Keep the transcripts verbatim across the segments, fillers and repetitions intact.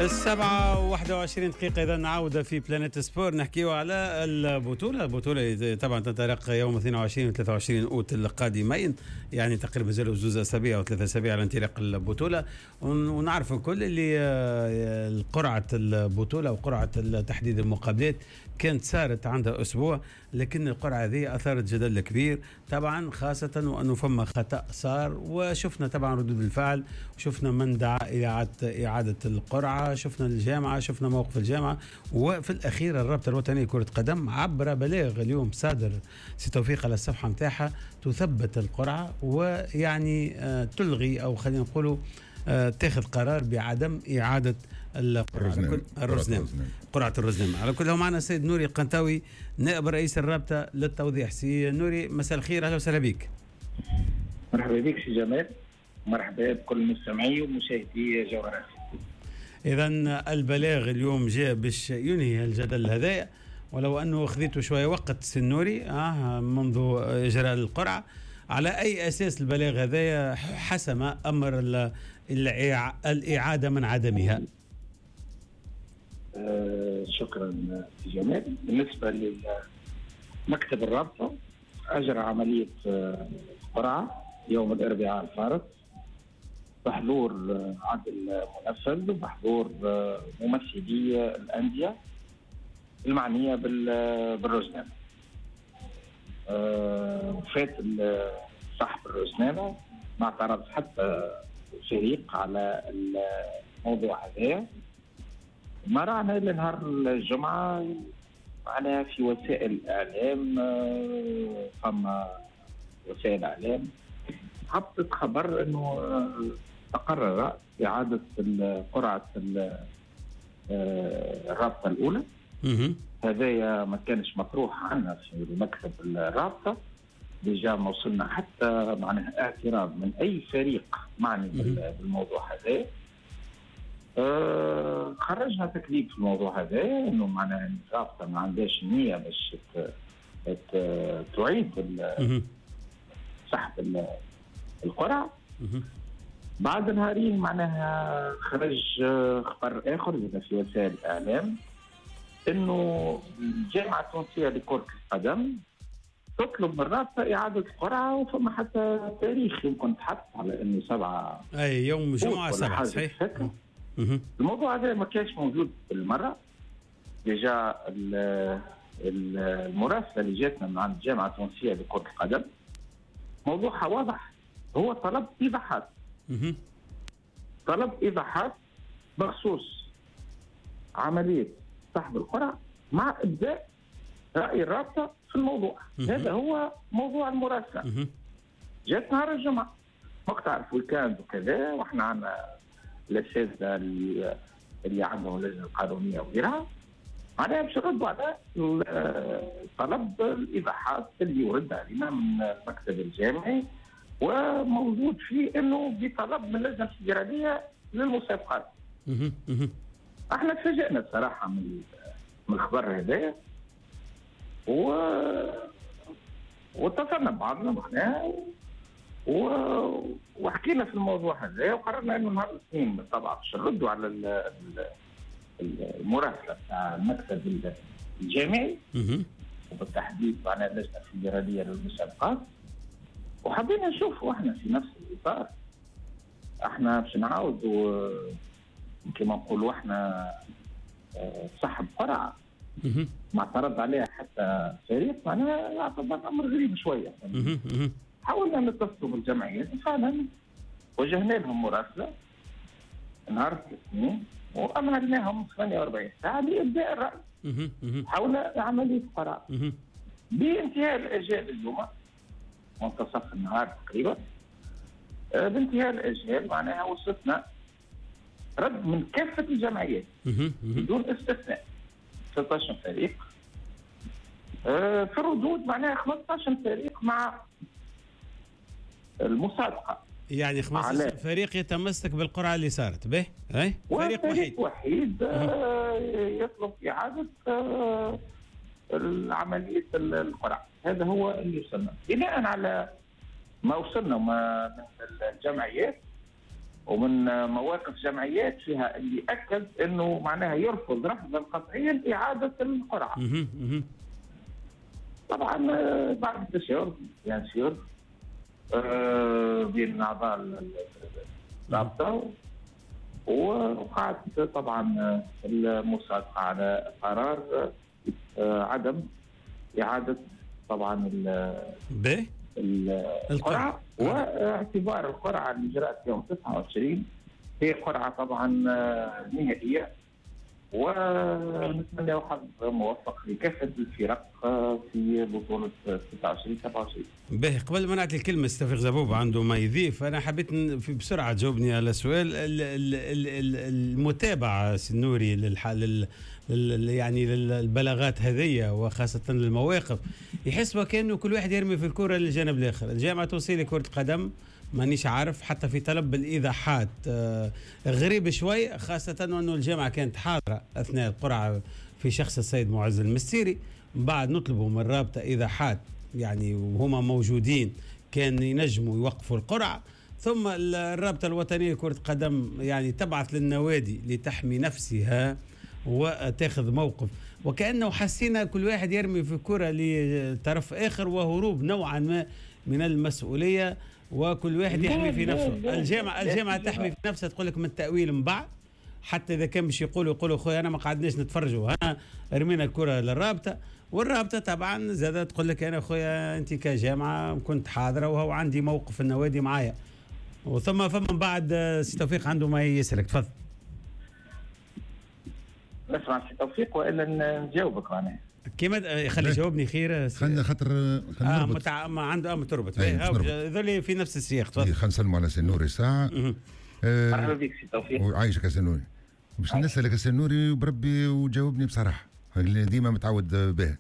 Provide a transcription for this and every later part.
السبعة وواحدة وعشرين دقيقة. إذا نعود في بلانيت سبور نحكيو على البطولة، البطولة طبعا تنطلق يوم اثنين وعشرين و ثلاثة وعشرين أوت القادمين، يعني تقريبا زالوا زوز أسابيع أو ثلاثة أسابيع على انطلاق البطولة. ونعرفوا كل اللي قرعة البطولة وقرعة تحديد المقابلات كانت صارت عندها أسبوع، لكن القرعة هذه أثارت جدل كبير طبعا، خاصة وأنه فما خطأ صار، وشفنا طبعا ردود الفعل، وشفنا من دعا إلى إعادة القرعة، شفنا الجامعة، شفنا موقف الجامعة، وفي الأخير الرابطة الوطنية لكرة قدم عبر بلاغ اليوم صادر سي توفيق على الصفحة متاعها تثبت القرعة، ويعني تلغي أو خلينا نقولوا تاخذ قرار بعدم إعادة القرعة الرزنامة، قرعة الرزنامة. على كل هو معنا السيد نوري القنطاوي نائب رئيس الرابطة للتوضيح. سي نوري مساء الخير، أهلا وسهلا بك. مرحبا بك سي جمال، مرحبا بكل مستمعي ومشاهدي جوهرة. إذا البلاغ اليوم جاء باش ينهي الجدل هذا، ولو أنه خذيته شوية وقت سي نوري آه منذ إجراء القرعة. على أي أساس البلاغ هذا حسم أمر الإعادة من عدمها؟ آه شكرا جمال. بالنسبة لمكتب الرابطة أجرى عملية قرعة يوم الأربعاء الفارط بحضور عدل منفذ وبحضور ممثلي الأندية المعنية بالرزنامة. وفات صاحب الرزنامة ما اعترض حتى فريق على الموضوع هذا. ما رأنا إلا نهار الجمعة معنا في وسائل الإعلام، فما وسائل الإعلام هبطت خبر أنه تقرر إعادة قرعة الرابطة الأولى. هذايا ما كانش مطروح عنا في مكتب الرابطة، déjà ما وصلنا حتى معناها اعتراض من أي فريق معني بالموضوع هذا. أه خرجنا تكذيب في الموضوع هذا، انه معناها الرابطة ما عندهاش نية باش تعيد سحب القرعة. بعد نهارين معناها خرج خبر آخر في وسائل الإعلام إنه الجامعة التونسية لكرة القدم تطلب من الرابطة إعادة القرعة، وفما حتى تاريخ يمكن تحط على إنه سبعة أي يوم جمعة سبعة صحيح. الموضوع هذا ما كانش موجود بالمرة. déjà المراسلة اللي جاتنا من عند الجامعة التونسية لكرة القدم موضوعها واضح، هو طلب إيضاحات. طلب إيضاحات بخصوص عملية سحب القرعة مع إبداء رأي الرابطة في الموضوع. هذا هو موضوع المراسلة. جات نهار الجمعة وقت تعرف week-end وكذا، واحنا عندنا الأساتذة اللي, اللي عندهم اللجنة القانونية وغيرها، معناها باش نردوا على طلب الإيضاحات اللي ورد علينا من المكتب الجامعي، وموجود فيه انه بطلب من اللجنة الفيدرالية للمسابقات. احنا تفاجئنا بصراحة من من الخبر هذا، و واتصلنا ببعضنا معناها و... وحكينا في الموضوع هذا، وقررنا انه نهار الاثنين بالطبع باش نردوا على المراسله تاع المكتب الجامعي وبالتحديد معناها اللجنة الفيدرالية للمسابقات. وحبينا نشوفوا احنا في نفس الاطار، احنا باش نعاودوا كما نقولوا احنا سحب قرعه ما اعترض عليها حتى فريق، معناها يعتبر امر غريب شوية. حاولنا نتصلوا بالجمعيات، فعلا وجهنا لهم مراسله نهار الاثنين وامرناهم ثمانية وأربعين ساعة لابداء الراي حول عملية القرعة. بانتهاء الاجال اليوم منتصف النهار تقريبا، بانتهاء الاجال معناها وصلتنا رد من كافة الجمعيات بدون استثناء، ستة عشر فريق. في الردود معناها خمسة عشر فريق مع المصادقة، يعني خمسة عشر فريق يتمسك بالقرعة اللي صارت به، أي فريق وحيد وحيد يطلب إعادة عملية القرعة. هذا هو اللي وصلنا بناء على ما وصلنا من الجمعيات. ومن مواقف جمعيات فيها اللي اكد انه معناها يرفض رفضا قطعيا اعاده القرعة. طبعا بعد التشاور bien sûr بين اعضاء الرابطة ووقعت طبعا المصادقة على قرار عدم اعاده طبعا ب القرعة، واعتبار القرعة اللي جرت يوم تسعة وعشرين هي قرعه طبعا نهائية، ونتمنى حظ موفق لكافة الفرق في بطوله ستة وعشرين سبعة وعشرين. باهي، قبل ما نعطي الكلمة توفيق زبوب عنده ما يضيف، انا حبيت بسرعة تجاوبني على سؤال المتابعة سي النوري للحال يعني للبلاغات هذية وخاصة للمواقف، يحس وكأنه كل واحد يرمي في الكرة للجانب الآخر. الجامعة التونسية لكرة القدم مانيش عارف حتى في طلب الإيضاحات غريب شوي، خاصة أنه الجامعة كانت حاضرة أثناء القرعة في شخص السيد معز المستيري. بعد نطلبوا من الرابطة إيضاحات يعني وهما موجودين كان ينجموا يوقفوا القرعة. ثم الرابطة الوطنية لكرة القدم يعني تبعث للنوادي لتحمي نفسها وتاخذ موقف، وكأنه حسينا كل واحد يرمي في الكرة لطرف آخر وهروب نوعا ما من المسؤولية، وكل واحد يحمي في نفسه. الجامعة الجامعة تحمي في نفسها، تقول لك من التأويل من بعد، حتى إذا كان باش يقولوا يقولوا خويا أنا ما قعدناش نتفرجوا، ها رمينا الكرة للرابطة، والرابطة طبعا زادت تقول لك أنا خويا أنت كجامعة كنت حاضرة وهو عندي موقف النوادي معايا. وثم فما بعد سي توفيق عنده ما يسألك، تفضل. نسمع سي توفيق والا نجاوبك معناها كيما خلي يجاوبني خير. خلينا خاطر اه متع... ما عنده اه تربط هذول في نفس السياق. تفضل. خلينا نسلموا على سي النوري ساعة. آه مرحبا بك سي توفيق. وعايشك سي النوري. باش نسالك سي النوري بربي وجاوبني بصراحة اللي ديما متعود به،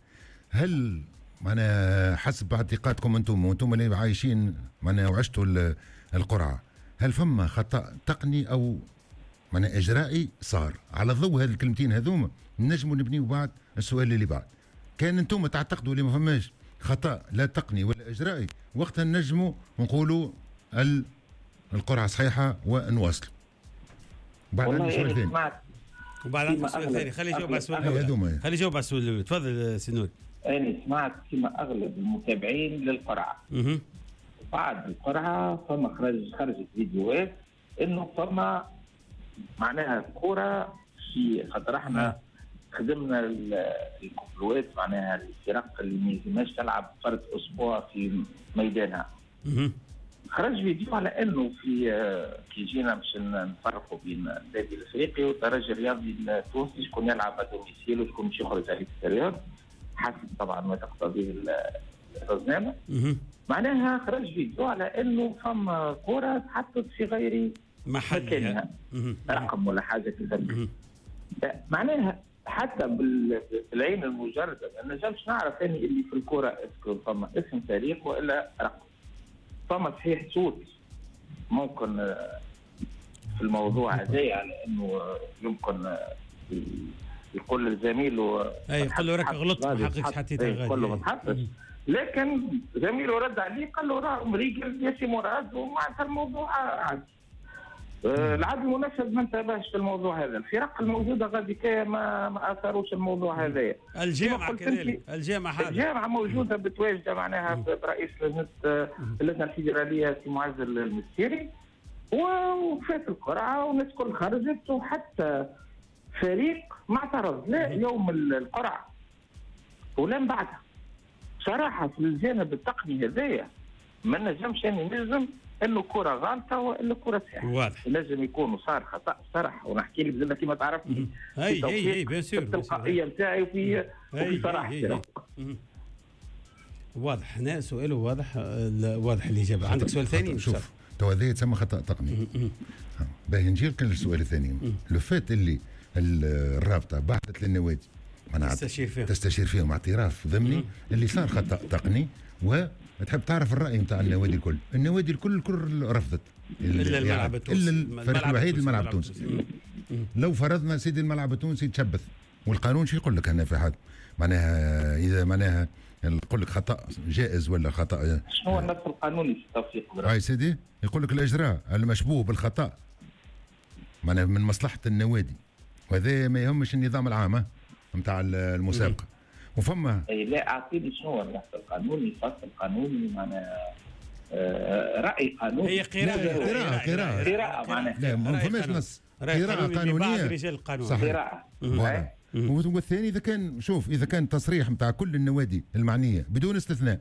هل معناها حسب اعتقادكم انتم وانتم اللي عايشين معناها وعشتوا القرعة، هل فما خطا تقني او معناها اجرائي صار؟ على ضوء هذه الكلمتين هذوما نجموا نبنيو بعد السؤال اللي بعد. كان انتم تعتقدوا اللي ما فماش خطا لا تقني ولا اجرائي، وقتها نجموا نقولوا القرعة صحيحه ونواصلوا. بعد عندي سؤال ثاني. وبعد عندي سؤال ثاني، خلي يجاوب على السؤال الاول. خلي يجاوب على السؤال الاول. تفضل سي نوري. انا سمعت كما اغلب المتابعين للقرعه. بعد القرعة فما خرج خرجت فيديوهات انه فما معناها كرة في خاطر احنا خدمنا الكوبلوات معناها الفرق اللي ما يلزمهاش تلعب فرد اسبوع في ميدانها. خرج فيديو على انه في كي جينا باش نفرقوا بين النادي الافريقي والترجي الرياضي التونسي شكون يلعب à domicile وشكون باش يخرج على l'extérieur حسب طبعا ما تقتضيه الرزنامه. معناها خرج فيديو على انه فما كرة تحطت في غير محلها رقم ولا حاجة كذا. معناها حتى بالعين المجردة ما نجمش نعرف اني اللي في الكره est-ce que فما اسم فريق والا رقم. فما صحيح صوت ممكن في الموضوع هذا يعني انه يمكن يقول لزميله اي يقول له راك غلطت ما حقكش حطيتها غادي، يقول له ما تحطش، لكن زميله رد عليه قال له راه مريقل يا سي مراد ومعناتها الموضوع عادي. العدل المنفذ ما انتبهش في الموضوع هذا، الفرق الموجودة غادي ما ما اثروش الموضوع هذايا. الجامعة كذلك، الجامعة حاضرة. الجامعة موجودة بتواجد معناها برئيس لجنة اللجنة الفيدرالية سي معز المستيري، وفات القرعة والناس الكل خرجت وحتى فريق ما اعترض لا يوم القرعة ولا من بعدها. صراحة في الجانب التقني هذايا ما نجمش اني نلزم انه كره غلطه والا كره صحيحه. واضح لازم يكون صار خطا صرح، ونحكي لك زعما كيما تعرفني اي اي اي bien sûr التلقائية نتاعي وفي وفي صراحتي. واضح هنا سؤاله واضح، واضح الاجابة. عندك سؤال ثاني؟ شوف تو هذا يتسمى خطا تقني. باهي نجي لك للسؤال الثاني. le fait اللي الرابطة بعثت للنوادي تستشير فيهم تستشير فيهم اعتراف ضمني اللي صار خطا تقني، وتحب تعرف الراي نتاع النوادي الكل. النوادي الكل الكل رفضت الا الملعب التونسي، الا الفريق الوحيد الملعب التونسي. لو فرضنا سيدي الملعب التونسي تشبث، والقانون شو يقول لك هنا في حد معناها اذا معناها يقول لك خطا جائز ولا خطا شنو النص القانوني في التوفيق؟ اي سيدي يقول لك الاجراء المشبوه بالخطا معناها من مصلحة النوادي، وهذا ما يهمش النظام العام نتاع المسابقة. وفما اي لا اعطيني شنو النص القانوني، فصل قانوني معناها آه راي قانوني. هي قراءة قراءة قراءة قراءة معناها لا ما فماش نص، قراءة قانونية رجال القانون قراءة. والثاني اذا كان شوف اذا كان تصريح نتاع كل النوادي المعنية بدون استثناء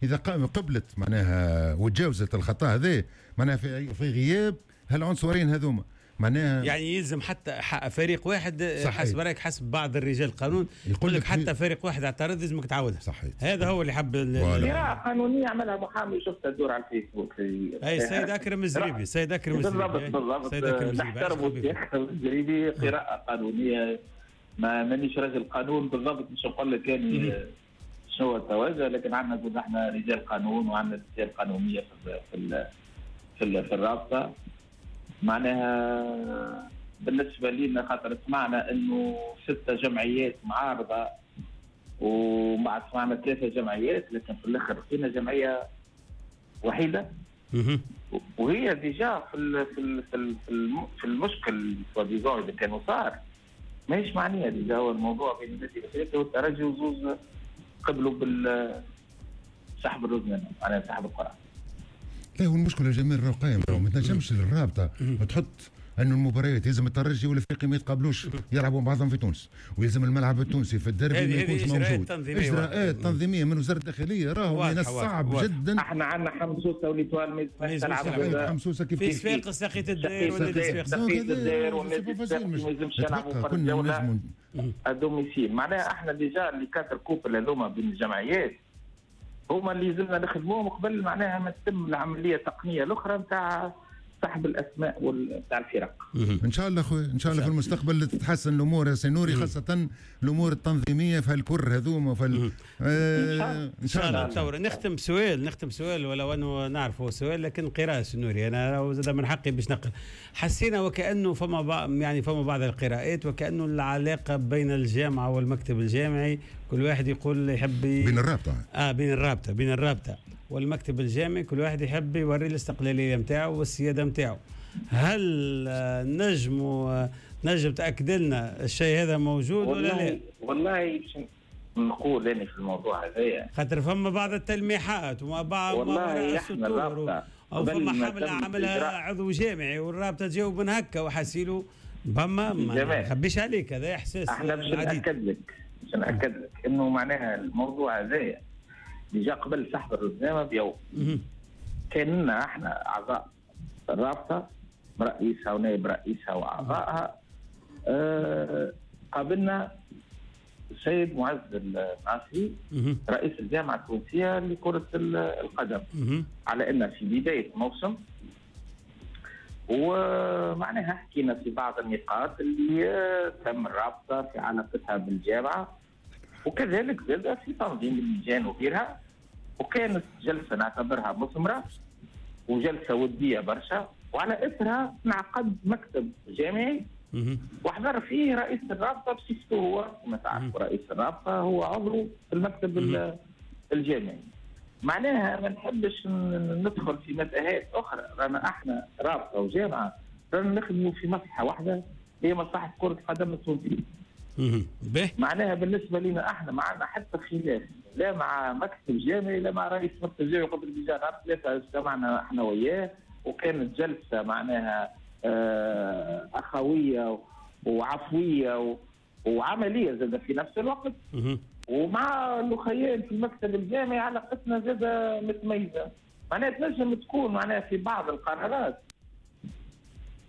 اذا قبلت معناها وتجاوزت الخطا هذا معناها في في غياب هالعنصرين هذوما معناها يعني يلزم حتى فريق واحد حسب رايك حسب بعض الرجال القانون يقول لك حتى فريق واحد اعترض لازمك تعاودها. صحيح هذا هو اللي حب. قراءة قانونية عملها محامي شفتها تدور على الفيسبوك. اي السيد اكرم الزريبي، السيد اكرم الزريبي بالضبط بالضبط نحترمه السيد اكرم الزريبي. قراءة قانونية، ما مانيش رجل قانون بالضبط مش نقول لك يعني شنو التوجه، لكن عندنا زاد احنا رجال قانون وعندنا رجال قانونية في في في, في الرابطة. معناها بالنسبة لنا خاطر سمعنا انه ستة جمعيات معارضة ومع سمعنا ثلاثة جمعيات، لكن في الاخر فينا جمعية وحيده وهي déjà في ال في ال في, في المشكل soi-disant اذا كانوا صار ماهيش معنية. déjà هو الموضوع بين النادي الافريقي والترجي وزوز قبلوا بال سحب الرزنامه معناها سحب القرعة. لا هو المشكلة جميل راه قايم، ما تنجمش الرابطة تحط انه المباريات يلزم الترجي والافريقي ما يتقابلوش يلعبوا بعضهم في تونس، ويلزم الملعب التونسي في الدربي ما يكونش موجود. اجراءات تنظيميه من وزارة الداخلية راهو من الصعب جدا. احنا عندنا حمسوسه و l'Étoile ما يلزمش حمسوسه كيف في صفاقس ساقية الدائر والنادي ساقية الدائر والنادي الصفاقسي ما يلزمش يلعبوا فرد جولة à domicile. معناها احنا déjà les quatre coupes هذوما بين الجمعيات هما اللي لازمنا نخدموهم قبل معناها ما تتم العملية التقنية الاخرى نتاع سحب الاسماء نتاع الفرق. ان شاء الله خويا، ان شاء الله في المستقبل تتحسن الامور يا سي نوري، خاصة الامور التنظيمية في الكر هذوما في آه ان شاء الله. تصور نختم سؤال، نختم سؤال ولو انه نعرفه سؤال لكن قراءة سي نوري، انا زاد من حقي باش نقرا. حسينا وكانه فما يعني فما بعض القراءات وكانه العلاقة بين الجامعة والمكتب الجامعي كل واحد يقول يحب بين الرابطة اه بين الرابطة بين الرابطة والمكتب الجامعي كل واحد يحب يوري الاستقلالية نتاعو والسيادة نتاعو. هل نجم نجم تاكد لنا الشيء هذا موجود ولا لا؟ والله باش نقول انا في الموضوع هذايا خاطر فما بعض التلميحات وما بعض والله احنا الرابطة او فما حمله عملها عضو جامعي والرابطه تجاوب من هكا وحسيلو فما ما نخبيش عليك هذا احساس. احنا باش ناكد لك باش ناكد لك انه معناها الموضوع هذايا déjà قبل سحب الرزنامه بيوم كان لنا احنا اعضاء الرابطة رئيسها ونائب رئيسها واعضائها آه قابلنا السيد معز الناصري رئيس الجامعة التونسية لكرة القدم على ان في بداية الموسم، ومعناها حكينا في بعض النقاط اللي تم الرابطة في علاقتها بالجامعة وكذلك زاد في تنظيم اللجان وغيرها، وكانت جلسه نعتبرها مثمرة وجلسه وديه برشا، وعلى اثرها انعقد مكتب جامعي وحضر فيه رئيس الرابطة بصفته هو، كما تعرفوا رئيس الرابطة هو عضو في المكتب الجامعي. معناها ما نحبش ندخل في متاهات اخرى، رانا احنا رابطه وجامعة رانا نخدموا في مصلحة واحدة هي مصلحة كره القدم التونسية. معناها بالنسبة لنا احنا ما عندنا حتى خلاف لا مع مكتب جامعي لا مع رئيس مكتب جامعي. قبل déjà نهار ثلاثة اجتمعنا احنا وياه وكانت جلسه معناها اخويه وعفويه وعملية زاد في نفس الوقت. ومع الاخيان في المكتب الجامعي علاقتنا زاد متميزة، معناها تنجم تكون معناها في بعض القرارات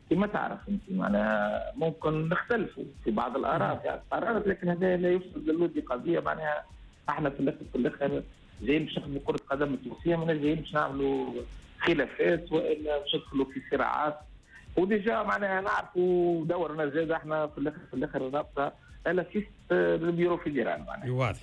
كما تعرف انت معناها ممكن نختلفوا في بعض الاراء في القرارات، لكن هذا لا يفسد للود قضية. معناها احنا في الاخر في الاخر جايين باش نخدموا كره قدم التونسية، ما جايين باش نعملوا خلافات والا باش ندخلوا في صراعات. و déjà معناها نعرفوا دورنا زاد احنا في الاخر في الاخر الرابطة l'assiste ال bureau fédéral معناها. واضح.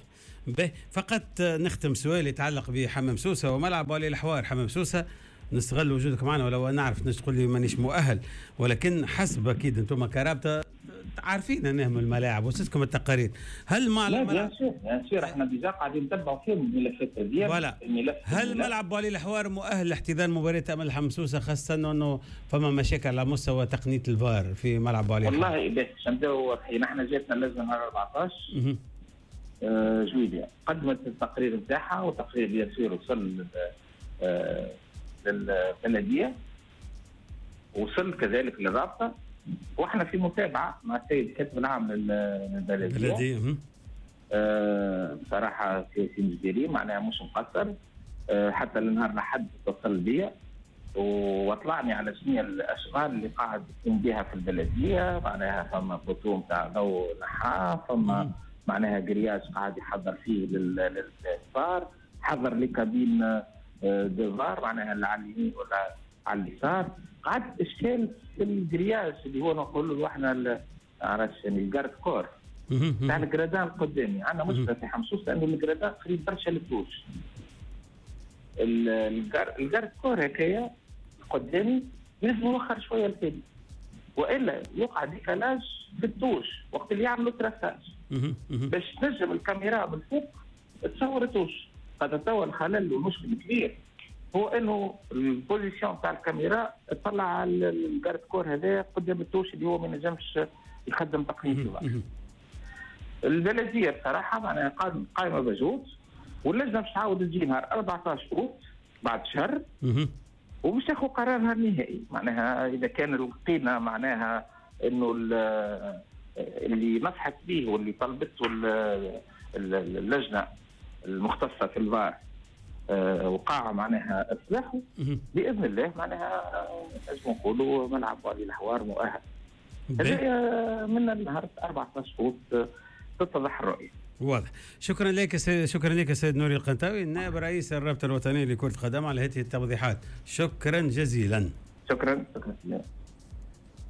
فقط نختم سؤال يتعلق بحمام سوسة وملعب ولي الحوار حمام سوسة. نستغل وجودك معنا ولو نعرف ناس تقول لي مانيش مؤهل، ولكن حسب اكيد انتم كرابطه عارفين انهم الملاعب وصلتكم التقارير، هل مع لا bien sûr bien sûr احنا déjà قاعدين نتبعوا فيهم الملفات هذه. الملف هل ملعب بوعلي الحوار مؤهل لاحتضان مباراة امل حمسوسه، خاصة انه فما مشاكل على مستوى تقنية الفار في ملعب بوعلي الحوار؟ والله باش نبداو واضحين، احنا جاتنا اللجنة نهار أربعطاش آه جويليا، قدمت التقرير نتاعها، وتقرير bien sûr وصل آه للبلديه، وصل كذلك للرابطة، واحنا في متابعه مع السيد الكاتب العام للبلديه. آه بصراحة سي مجدري معناها مش مقصر، آه حتى النهار لحد اتصل بيا واطلعني على شنو الاشغال اللي قاعد يقوم بها في البلدية، معناها فما poteau نتاع ضوء نحاه، فما معناها grillage قاعد يحضر فيه للفار، حضر les cabines de VAR معناها على اليمين ولا على اليسار. قعد اشكال في ال grillage اللي هو نقول له احنا عرفت ال garde-corps تاع ال gradins قدامي. عندنا مشكلة في حمصوص لانه ال gradins قريب برشا لل touche. ال garde-corps هكايا قدامي لازم يوخر شوية التالي، والا يقع décalage في ال touche وقت اللي يعملوا traçage باش تنجم الكاميرا من فوق تصور ال touche. قد توا الخلل والمشكل الكبير هو انه ال position تاع الكاميرا تطلع على ال garde-corps هذا قدام ال touche اللي هو ما ينجمش يخدم تقنية الفار. البلدية بصراحة معناها قائمة بجهود، واللجنة باش تعاود تجي نهار أربعطاش اوت بعد شهر وباش تاخذ قرارها النهائي. معناها اذا كان لقينا معناها انه اللي نصحت به واللي طلبته اللجنة المختصة في الفار وقع معناها اصلاحه باذن الله، معناها نجم نقولوا ملعب بوعلي الحوار مؤهل. هذا من النهار أربعطاش اوت تتضح الرؤية. واضح. شكرا لك سي... شكرا لك سيد نوري القنطاوي، نائب رئيس الرابطة الوطنية لكرة القدم، على هذه التوضيحات. شكرا جزيلا. شكرا شكرا.